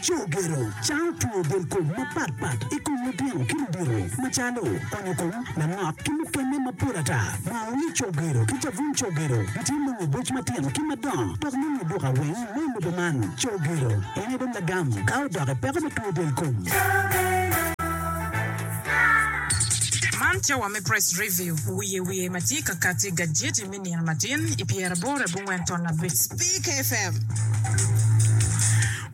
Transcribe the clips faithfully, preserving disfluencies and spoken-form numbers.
Cogero cango two del kom mapatpat i kom lutino ki ludito macalo onyo kom, langok ki mukene mapol ata. Moo wi cogero ki cabun cogero gitye nongo i boc matino ki madongo dok nongo i duka weng me lobo man. Cogero en aye dong lagam ka odok i peko me two del kom. Man cawa me Press Review, wiye wiye ma tye ka kati i gajeti me nino matin i pyeraboro abongwen ton abic. Speak F M.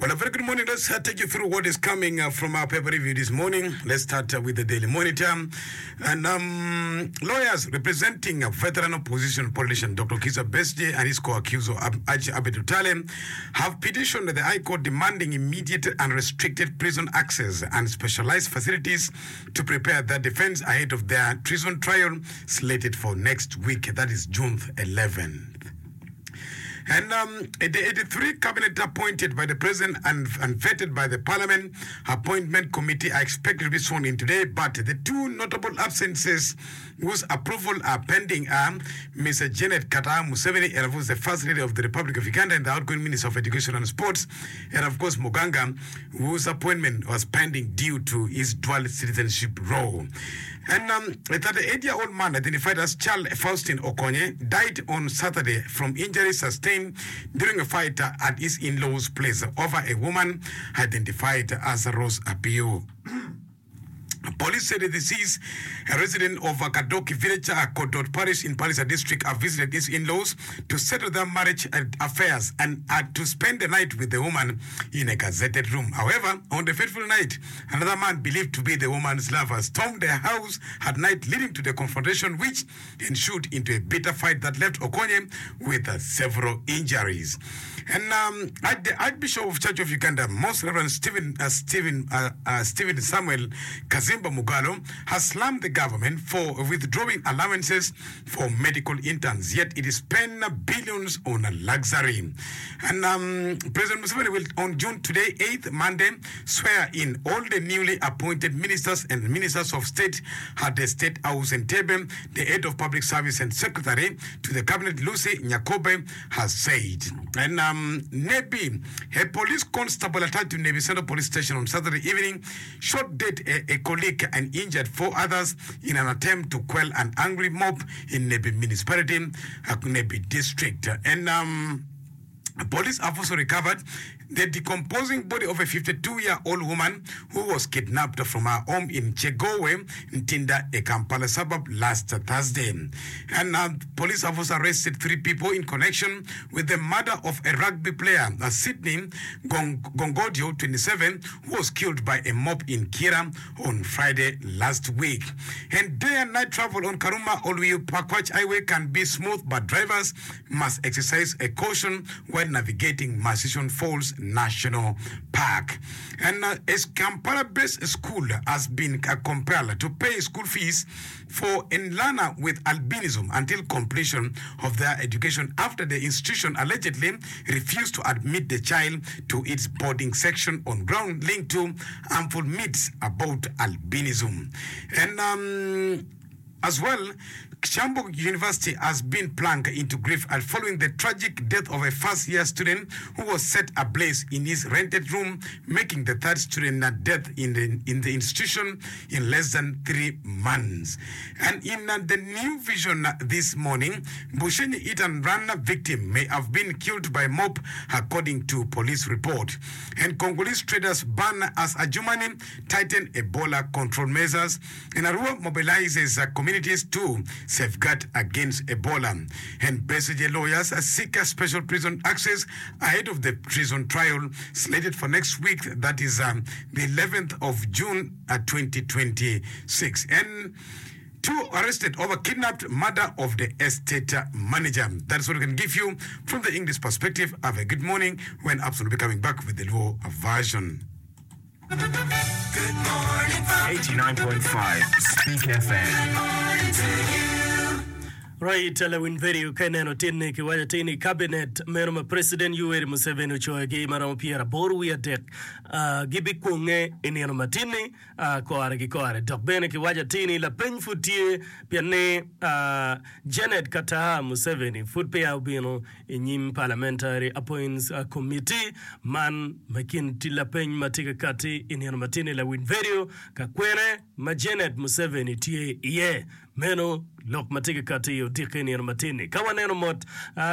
Well, a very good morning. Let's uh, take you through what is coming uh, from our paper review this morning. Let's start uh, with the Daily Monitor. And um, lawyers representing a veteran opposition politician Doctor Kizza Besigye and his co-accused Ab- Haji Abed Lutale have petitioned the High Court demanding immediate and restricted prison access and specialized facilities to prepare their defense ahead of their treason trial slated for next week. That is June eleventh. And um, the eighty-three cabinet appointed by the president and, and vetted by the parliament appointment committee are expected to be sworn in today. But the two notable absences whose approval are pending are Mister Janet Kataaha Museveni, and of course the First Lady of the Republic of Uganda and the outgoing Minister of Education and Sports, and of course Muganga, whose appointment was pending due to his dual citizenship role. And um, a thirty-eight-year-old man identified as Charles Faustin Okonye died on Saturday from injuries sustained during a fight at his in-laws' place over a woman identified as Rose Apio. Police said the deceased, a resident of Kadoki village, uh, Kodot Parish in Palisa district, have visited his in-laws to settle their marriage uh, affairs and uh, to spend the night with the woman in a gazetted room. However, on the fateful night, another man believed to be the woman's lover stormed their house at night, leading to the confrontation, which ensued into a bitter fight that left Okonye with uh, several injuries. And um, the Archbishop of Church of Uganda, Most Reverend Stephen, uh, Stephen, uh, uh, Stephen Samuel Kazimba Mugalo, has slammed the government for withdrawing allowances for medical interns, yet it is spent billions on luxury. And um, President Museveni will, on June today, eighth Monday, swear in all the newly appointed ministers and ministers of state at the State House in Entebbe, the head of public service and secretary to the cabinet, Lucy Nyakobe, has said. And um, Nebbi, a police constable attached to Nebbi Central Police Station on Saturday evening, shot dead a, a colleague and injured four others in an attempt to quell an angry mob in Nebbi municipality, uh, Nebbi district. And um, police have also recovered the decomposing body of a fifty-two-year-old woman who was kidnapped from her home in Chegowe, Ntinda, a Kampala suburb, last Thursday. And uh, police have also arrested three people in connection with the murder of a rugby player, uh, Sydney Gong- Gongodio, twenty-seven, who was killed by a mob in Kira on Friday last week. And day and night travel on Karuma Olwiyo Pakwach Highway can be smooth, but drivers must exercise a caution when navigating Murchison Falls National Park. And uh, a Kampala-based school has been uh, compelled to pay school fees for a learner with albinism until completion of their education after the institution allegedly refused to admit the child to its boarding section on ground linked to harmful myths about albinism. And um, as well, Kyambogo University has been plunged into grief following the tragic death of a first-year student who was set ablaze in his rented room, making the third student death in the, in the institution in less than three months. And in uh, the New Vision this morning, Bushenyi hit and run victim may have been killed by mob, according to police report. And Congolese traders ban as Adjumani tighten Ebola control measures. And Arua mobilizes uh, communities to safeguard against Ebola. And Besigye lawyers seek a special prison access ahead of the treason trial slated for next week, that is um, the eleventh of June uh, twenty twenty-six. And two arrested over kidnapped murder of the estate manager. That's what we can give you from the English perspective. Have a good morning when Abson will be coming back with the Luo version. Good morning. eighty-nine point five Speak F M. Good morning to you. Right, lawiny vedio ka ineno tin-ni kiwaco atir ni cabinet meno ma President Yoweri Museveni ocoyogi ma romo pyeraboro wiye adek gibikwonge i nino ma tin-ni kore ki kore. Dok bene kiwaco atir ni lapeny pud tye pien ni Janet Kataha Museveni pud peya obino i nyim Parliamentary Appoints Committee man me kin lapeny ma tye ka kati i nino ma tin-ni lawiny vedio ka kwene ma Janet Museveni tye iye. Meno lok ma tye ka katti i odiko i nino matin-ni. Ka waneno mot,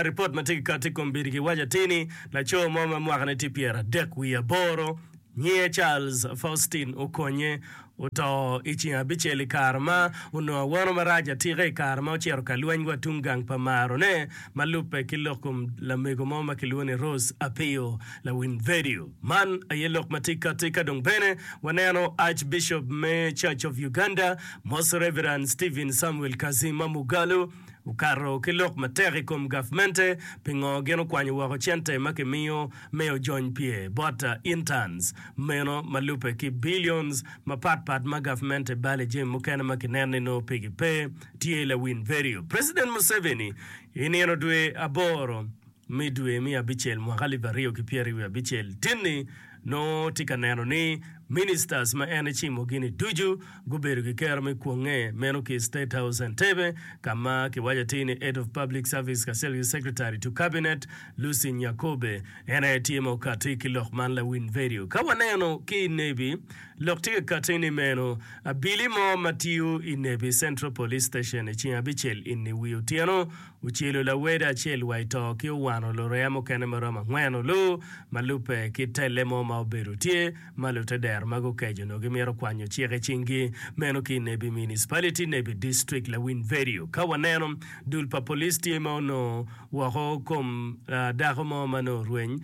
ripot ma tye ka katti i kom bidi giwaco atir ni laco mo ma mwakane tye pyeradek wiye aboro, nyinge Charles Faustin Okonye, oto i ceng abicel i kare ma onongo awano marac atika i kare ma ocito ka lweny wa tung gang pa marone ma lubbe ki lok kom lamego mo ma kilwongo ni Rose Apio lawiny vedio. Man aye lok ma tye ka katti ka dong bene waneno Archbishop me Church of Uganda, Most Reverend Stephen Samuel Kazima Mugalu okato ki lok matek i kom gavmente pingo gin okwanyo woko cente ma kimiyo me ojony pye bot interns meno ma lubbe ki billions mapat pat ma gavmente balo i jami mukene ma kineno ni nongo pigi pe tye lawiny vedio. President Museveni i nino dwe aboro me dwe me abicel mwaka alip aryo ki pyeraryo wiye abicel tinni nongo tye ka neno ni ministers ma en ecimogi-ni ducu gubedo ki kero me kwonge meno ki i State House Entebbe ka ma kiwaco atir ni Head of Public Service kacel ki Secretary to Cabinet Lucy Nyakobe en aye tye ma okati ki lok man lawiny vedio. Ka waneno ki i Nebi lok tye ka kati ni meno abili mo ma tiyo i Nebi Central Police Station i ceng abicel ini wi otyeno Ocelo lawede acel wa i to ki owano lureya mukene ma romo angwen olu ma lubbe ki telle mo ma obedo tye ma lutedero ma gukeco onongo gimito kwanyo cik i cinggi meno ki i Nebbi Municipality, Nebbi District. Lawiny vedio ka waneno dul pa police tye ma onongo woko kom dako mo ma nongo orweny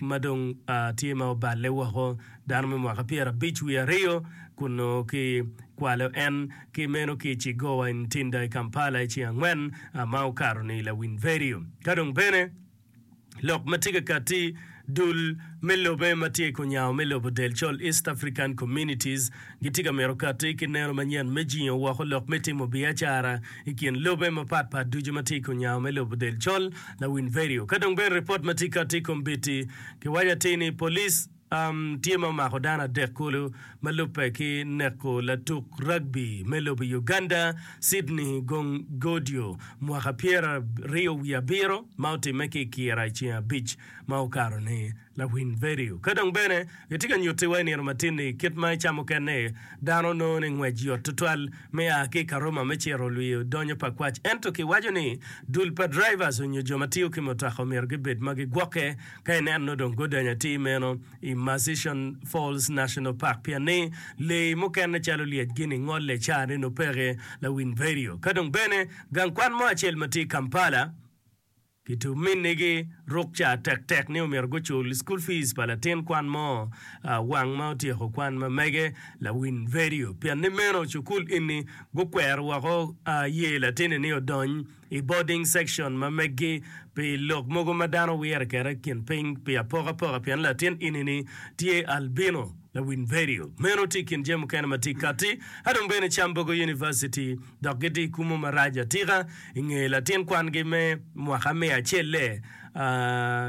ma dong tye ma oballe woko dano me mwaka pyerabic wiye aryo kun nongo ki kwalo en ki meno ki i Cigowa i Ntinda i Kampala i ceng angwen ma okato-ni. Lawiny vedio ka dong bene lok ma tye ka katti dul me lobe ma tye i kunyango me lobo del col East African Communities gitye ka mito katti ki neno manyen me jingo woko lok me timo biacara i kin lobe mapat pat ducu ma tye i kunyango me lobo del col. Lawiny vedio ka dong bene ripot ma tye katti i kombiti kiwaco atir ni police Tye ma omako dano adek kulu ma lubbe ki neko latuk rugby me lobo Uganda, Sydney Gongodyo mwaka pyeraryo wiye abiro ma otimme ki i Kira i ceng abic ma okato-ni. Lawiny vedio ka dong bene gitye ka nyutiwa i nino matin-ni kit ma i ca mukene dano nongo ni ngwec yot tutwal me a ki i Karuma me cito lwiyo donyo pa kwac ento kiwaco ni dul pa drivers onyo jo ma tiyo ki mutoka omyero gibed ma gigwokke Ka ineno nongo dong gudonyo atir meno i Murchison Falls National Park pien ni lee mukene calo lyec gini ngole ca ni nongo peke lawiny vedio. Ka dong bene gang kwan mo acel ma tye i Kampala kituminigi rukca tektek ni omyero gucul school fees pa latin kwan mo wang ma otyeko kwan ma mege lawiny vedio pien ni meno cukul eni gukwero woko ye latini ni odony i boarding section ma meggi pi lok mogo ma dano wire kede i kin piny pi apokapoka pien latin ini-ni tye albino. Lawiny vedio meno tye i kin jami mukene ma tye katti ka dong bene Kyambogo University dok gitye i kumo marac atika i nge latin kwangi me mwaka miya acel-le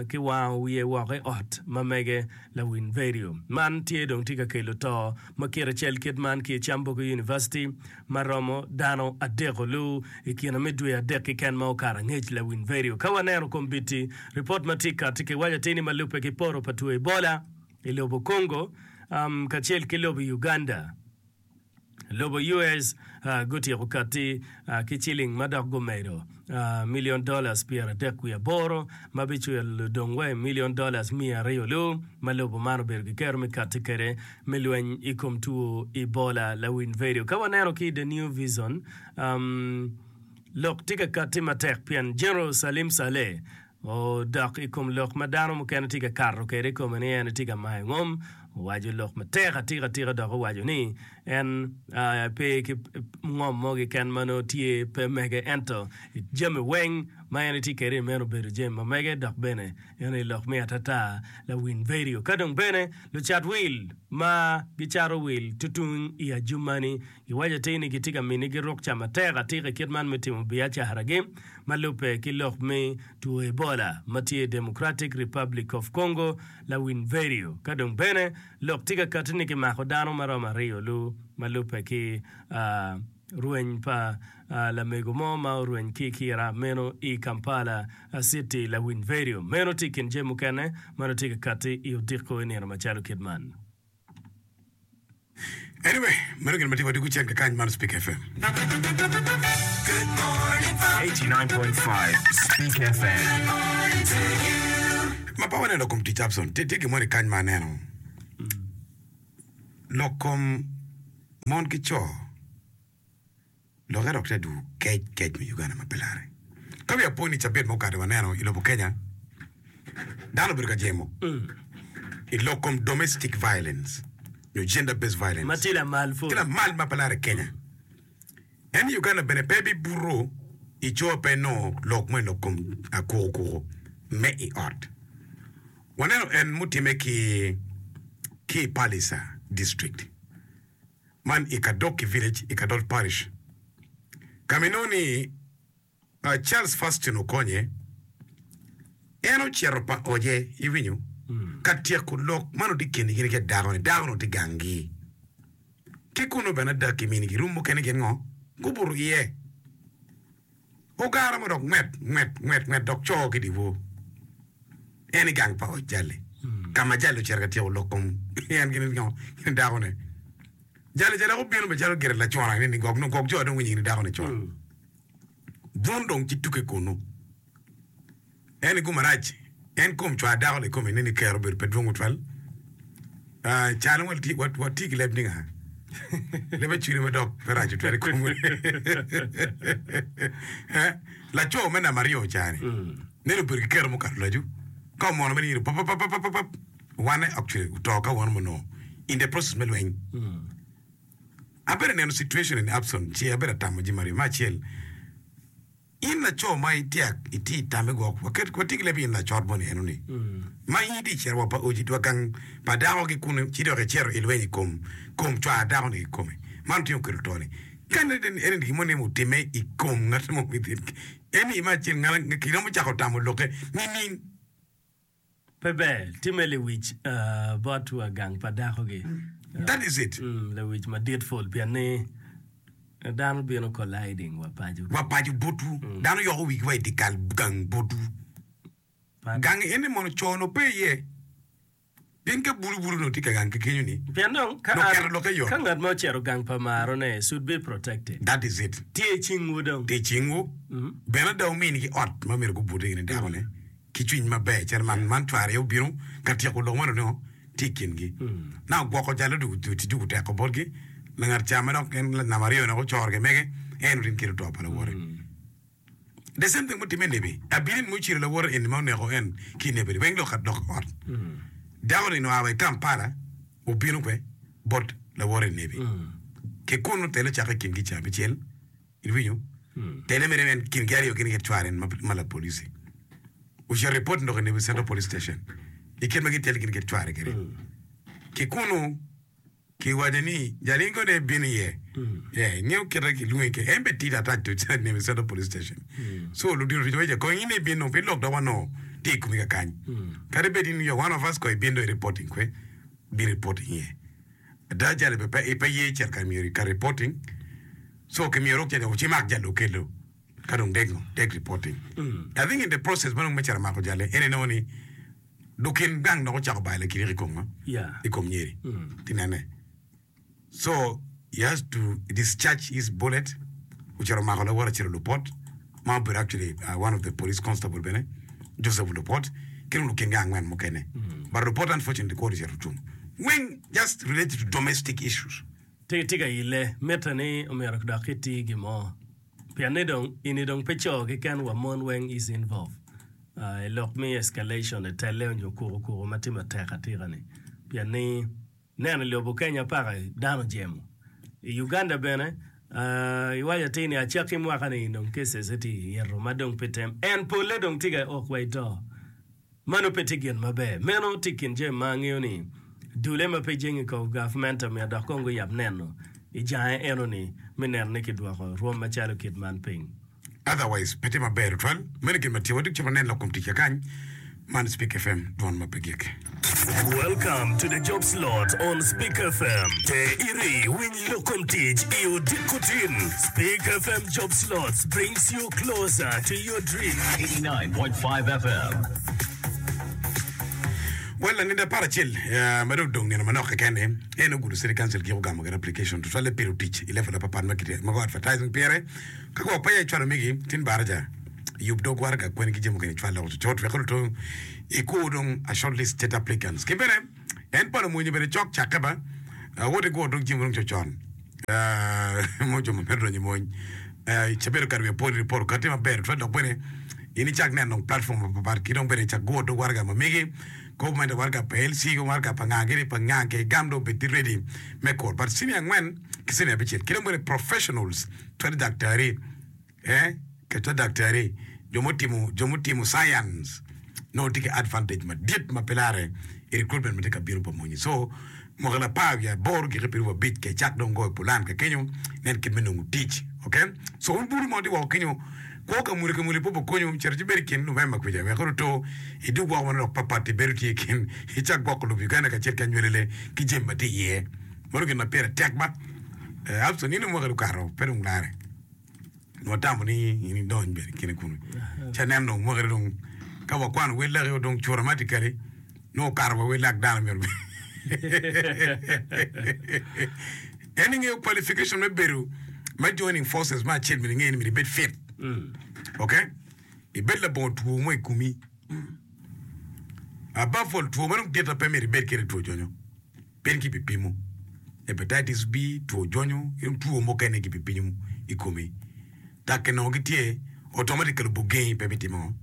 ki wango wiye woko i ot ma mege. Lawiny vedio man tye dong tye ka kelo to ma kite cel kit man ki i Kyambogo University ma romo dano adek olu i kine me dwe adek keken ma okato angec. Lawiny vedio ka waneno kombiti ripot ma tye kati kiwaco atir ni ma lubbe ki poto pa two Ebola i lobo Congo kacel ki lobo Uganda, lobo U S gutyeko kati ki ciling ma dok gumedo million dollars pyeradek wiye aboro ma bicwilo dong wa i million dollars miya aryo lu ma lobo man obedo ki kero me kati kwede me lweny i kom two Ebola. Lawiny vedio ka waneno ki The New Vision lok tye ka kati matek pien General Salim Saleh odok i kom lok ma dano mukene tye ka kato kwede i kome ni en etye ka mayo ngom. Owaco lok matek atika tika dok owaco ni en pe ki ngom mo keken ma nongo tye pe mege ento jami weng ma en etye kwede meno obedo jami ma mege dok bene en aye lok me atata lawiny vedio. Ka dong bene lucat wil ma gicato wil tutung i Ajumani giwaco atir ni gitye ka minigi rukca matek atika i kit man me timo biacaragi ma lubbe ki lok me two Ebola ma tye i Democratic Republic of Congo lawiny vedio. Ka dong bene lok tye ka kati ni kimako dano ma romo aryo lu ma lubbe ki rweny pa lamego mo ma orweny ki i kira meno i Kampala City lawiny vedio. Meno tye i kin jami mukene ma nongo tye ka kati i odiko i nino macalo kit man. Anyway, meno gin ma tye wadiko cen kakany man Speak F M. eighty nine point five Speak F M. Ma pe waneno kom tic Abson, tye gin moni kany ma aneno. Lok kom mon ki co lokke dok tye adwogo kec kec me Uganda ma pe larre. Ka wiya po ni cabit mukato waneno i lobo Kenya, dano obedo ka jemo i lok kom domestic violence nyo gender based violence Ma tye lamal pud. Tye lamal ma pe larre i Kenya. En i Uganda bene pe bibuto i co pe nongo lok mo i lok kom akukuku me i ot. Waneno en mutimme ki ki i Palisa district man i Kadoki village i Kadot parish ka ma inongo ni Charles Faston okonye en ocito pa oje iwinyo ka tyeko lok man oti keni gin ki dako ni dako ni oti gangi ki kunu bene ada kiminigi rum mukene gin ngo gubuto iye. Ogara mo dok ngwet, ngwet, ngwet, ngwet dok co ki dyewor. En i gang pa oc jali, ka ma jali ocito ka tyeko lok kom en gin ngo, gin dakone. Jali ca dok obino macalo gire lacona ni gwok nongo gwok jo dong winyo gin dakone con. Bun dong ci tuke kunu. En i gum arac, en kom cwar dako-ni kome ni kero obedo pe dwong tutwal. Ah, calo watye watye ki leb ni nga? Leb acwili ma dok pe rac tutwal i komwa. Eh, Laco me namba aryo ca-ni, nene obedo ki kero mukato lacu, ka omono mere nyiro papapapapap, wane actually oto ka wan onongo in the process me lweny. Abedo neno situation in Abson ci abedo atamo jami aryo. Me acel, In laco ma itye itye i tamme gwok waket watye ki leb in lacot moni eno ni ma in itye icito wa pa oji wa gang pa dako ki kunu ci dok icito ilweny i kom kom cwar dako ni kikome man otingo kelo to ni ka eni eni gin moni otime i kom ngat mo within eni me acel ngat kiromo cako tamo lokke nining? Pe ber, timme lewic bot wa gang pa dakogi. That is it. Lewic madit pol pien ni dano bino colliding wa paco. Wa paco botwu. Dano yoko wigi wa i dye kal gang botwu. Gang eni mono co-nu pe iye. Pien ka bulu bulu onongo tye ka gang ki kenyo ni, Pien dong ka nongo an, keto lokke yot. ka ngat mo ocito gang pa marone, should be protected. That is it. Tye i cingwu dong. Tye i cingwu. Bene ada wuminigi ot ma myero gubute gin ki dakone ki cwiny maber calo man man cware aye obino ka tyeko lok man onongo tye i kingi. Now gwoko jal odwogo dwogo teko botgi langat ca ma dok en namba aryo ni ocoro ki mege en otin kelo to pa lawote. The same thing mutimme i nebi. Abili ni muciro lawote eni ma oneko en ki i nebi-ni weng dok dok ot. Dako ni oa wa i Kampala obino kwe bot lawote i nebi. Ki kunu tele ocake i kingi ca abicel. Iwinyo? Tele mere en kingi aryo gin ki cware en ma lapolisi. Ocito report dok i nebi Central Police Station i kit ma gitele gin ki cware kwede. Ki kunu Kiwaco ni, Jal in kono ibino iye? Yeah, ingeyo kite kilwongi ke. En be tidi attached to Nemi Central Police Station. So ludito tic waco, kong in ibino pi lok dok wanongo tye i komi kakany. Kadi bed in you are one of us kong ibin dong i reporting kwe, bin reporting iye. Ada jal be pe pe ye cito ka myero ka reporting. So kimyero rok cene ci mak jal okelo ka dong deg ngo deg reporting. I think in the process ma dong me cito mako jal-li en inongo ni Lukin gang dok ocako bayo lakiriki i kom ngo? Yeah. I kom nyeri. Ti nene. So he has to discharge his bullet ocito omako lawote acel Olupot ma obedo actually uh, one of the police constable bene Joseph Olupot ki dong lukin gang angwen mukene. But Olupot unfortunately kwone ocito otum. Weng just related to domestic issues. Tye tye ka ile, mitte ni omyero dok iti gin mo. Pien ni dong ini dong pe co keken wa mon weng is involve i lok me escalation i telle onyo kuku kuku ma tye matek atika ni. Pien ni neno i lobo Kenya paka dano jemo. I Uganda bene uh, iwaco atir ni acakki mwaka-ni dong cases tye ito ma dong pe tem. En polle dong tye ka ok wa i to. Mano pe tye gin maber. Meno tye i kin jami ma angeyo ni dule ma pe jenge i kom gavment omyero dok kong guyab neno i jange eno-ni me neno ni kidwoko rwom macalo kit man piny. Otherwise pe tye maber tutwal. Meno gin ma tye. Watye cito nen lok kom tic kakany. Man Speak F M, dwon ma pe gik. Welcome to the job slot on Speak F M. Te iri winy lok kom tic i odiko tin. Speak F M Job Slots brings you closer to your dream. eighty-nine point five F M. Well, laninda apar acel eh, ma dong odong nino manok keken ni en Ogudo City Council giko gamo gire application tutwalle piro tic i level apapat ma kite ma go advertising pire ka go peya icwalo migi tin baraja yub dog waraga kweni ki jami mukene icwal loko cocot wek oduto ikur dong a shortlisted applicants ki bene en palo mwonyo bene cok cakke ba wot igur dog jami dong cocon mo jo ma mito donyo i mony cabedo kare wiye pol report okati maber tutwal dok bene in icak neno dong platform mapapat ki dong bene icak gur dog waraga ma megi ko mende waraga pa L C waraga pa nga gini pa nga ke gam dong bed ready me kur but senior angwen ki senior abicel ki dong bene professionals twero daktari eh keto daktari jo mutimo jo mutimo science nongo tye ki advantage madit ma pe lare i recruitment ma tye ka bino pa monyi. So mwaka apar wiye aboro giki piero abic ke cak dong goyo pulan ka kenyo nen kit me nongo tic. Okay, so un buru mo tye woko kenyo kwo ka muli ka muli po konyo cito ci bedo i kin November kwica wek oto idug woko manok papat ibedo tye i kin icak gwoko lobo Uganda kacel ki anywelele ki jami ma tye iye. Mano gin ma pire tek ba eh, Abson nino mwaka okato pe dong lare watamo ni in idony bene kine kunu ca neno dong mwaka dong ka wakwano wel laki dong cura automatically nongo okato wa wel lak dano myero en ingeyo qualification me bedo me joining forces ma acel myero inge ni myero ibed fit, okay, ibed labongo two mo i komi. Above all, two ma dong dit pe myero ibed kede two jonyo pien kibipimo hepatitis B, two jonyo ki dong two mukene kibipimo i komi dok kinongo gitye automatically obugengi pe bitimo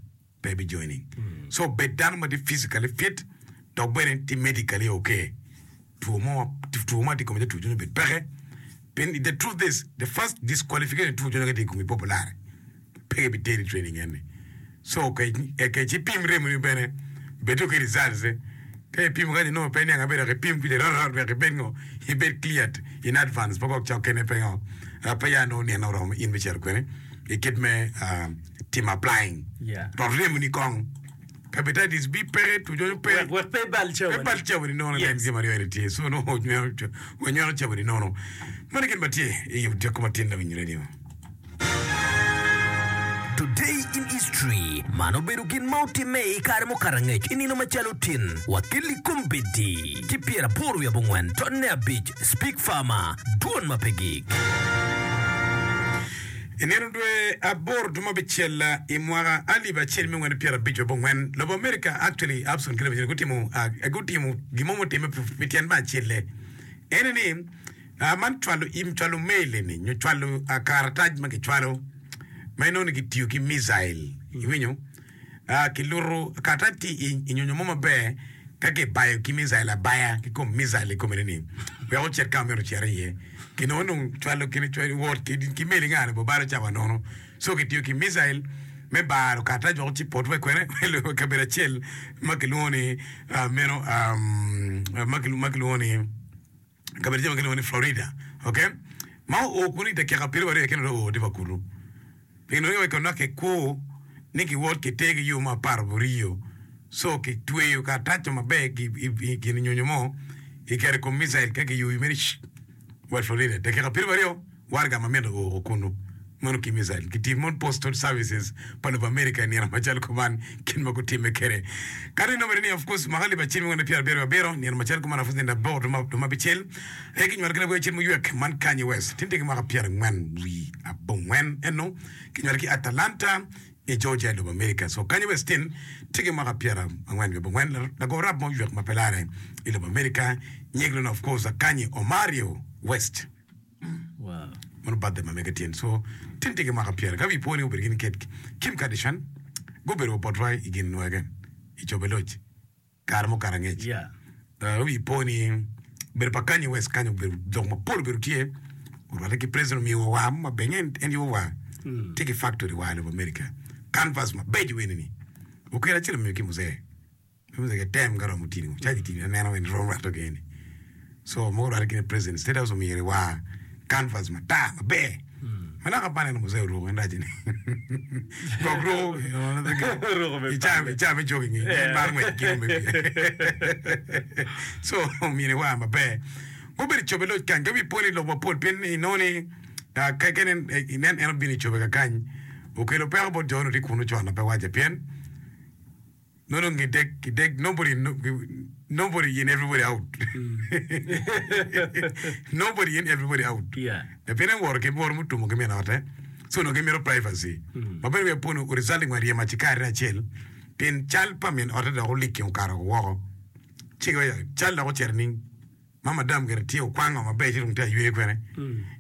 pe bi joining. So bed dano ma tye physically fit dok bene tye medically okay. Two mo two ma tye i komi two jonyo bed peke pien the truth is the first disqualification two jonyo ka tye i komi popular pe biteri training eni. So ke ke ci pim remo ni bene bedo ki results ka ipimo ka inongo pe niang abedo ipim kwica rorot wek ibed ngo ibed cleared in advance pa kok cok kene pe ngo pe ya nongo nino oromo in me cito kwene i kit me uh, timo applying. Yeah. Rot remo ni kong hepatitis B peke, two jonyo pe. Wek wek pe ibal pe cawani. Bal cawani nono. Yes. Len gima aryo eni tye so nongo wanywako cawani nono. Mano gin ma tye i odiko matin lawiny radio. Today in History man obedo gin ma otimme i kare mukato angec i nino macalo tin wakeli kombeddi ki pyeraboro wiye abongwen tonne abic Speak Farmer dwon ma pe gik. I nino dwe aboro dwe abicel i mwaka alip acel miya angwen pyero abic abongwen lobo America actually Abson ki Lewicen gutimo uh, gutimo gin mo mutimme pi tyen me acelle ene ni uh, man cwalo im cwalo mail eni nyo cwalo uh, karatac ma kicwalo ma inongo ni kitiyo ki missile iwinyo uh, kiluto karatac tye i, i nyonyo mo maber ka kibayo ki missile abaya ki kom missile i kome ni wek ocit ka myero ocit iye kinongo nong cwalo kini cwalo wot ki, ki meli ngane bo baro cawa nono. So kitiyo ki missile me baro karatac wek ocit pot we kwene kabedo acel ma kilwongo ni uh, meno um, ma kilwongo ma kilwongo ni kabedo acel ma kilwongo ni Florida, okay, ma oo kunu i dakika piero aryo kene dong oo tye pa kunu pien onongo kono kikwo ni kiwot kite ki yo ma apar aboriyo. So kitweyo karatac maber ki i- i gin nyonyo mo iketo i kom missile ka kiyuyo mere wa Florida dakika piero aryo warga ma mito oo kunu mano ki missile kitiyo mon postal services pa lobo America i nino macalo kuman kin ma gutimme kede kadi inongo ni of course mwaka alip acel miya pyero abiro abiro nino macalo kuman of course nino aboro dwe ma abicel aye kinywalo ki labwe acel muywek man Kanye West tin tye ki mwaka pyero angwen wi abongwen eno kinywalo ki Atlanta i Georgia i lobo America. So Kanye West tin tye ki mwaka pyero angwen wi abongwen lago rap mo ywek ma pe lare i lobo America nying of course Kanye Omario West. Wow. Mano birthday ma mege tyen so tin tye ki mwaka pyero ka wi po ni obedo gin ket Kim Kardashian gubedo botwa i gin nwege i cobe loc kare mukato angec. Yeah. Uh, wi po ni bedo pa Kanye West kanyo obedo lok mapol obedo tye orwatte ki president omiyo wa maber en en yubo wa tye ki factory wa i lobo America canvas mabeco weni ni okelo acel omiyo ki muzee muzee ke tem ka romo tini caji tini aneno weni romo rwatte keni so mogo orwatte kini president state house omiyo wa canvas matar maber ma naka pa aneno muzee oruko en raci ni gok ruko Ruko me ica ica me jogging en mar ngwec kino maybe so omine wa maber gubedo cobe loc kany ka wi poni lok mapol pien inongo ni ah, ka ka inen inen en obino i cobe kakany okelo peko bot jo no tye kunu con na pe wace pien no no gidek gidek nobody no, nobody in everybody out nobody in everybody out Yeah. pien en woro ki woro mutumo ki min ote so no gimito privacy ma bene wiya poni resulting wa ryemo acikari acel pien cal pa min ote dok oliki okato woko ci cal dok ocito ning ma madam gire tye okwango maber ci dong tye aywe kwene